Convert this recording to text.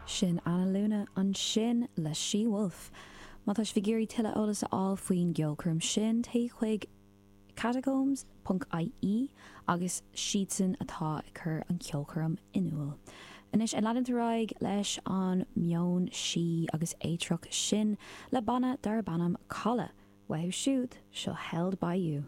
Sin Anna Luna ansin le She Wolf. Má tá sibh ag iarraidh tuilleadh eolas a fháil faoin gceolchoirm sin, téigh chuig catacombs ponc ie agus siadsan atá ag cur an ceolchoirm in iúl. Anois ag leanúint ar aghaidh leis an meon sí agus éitreach sin le banna darb ainm Codladh. Uathu siúd, seo Held By You.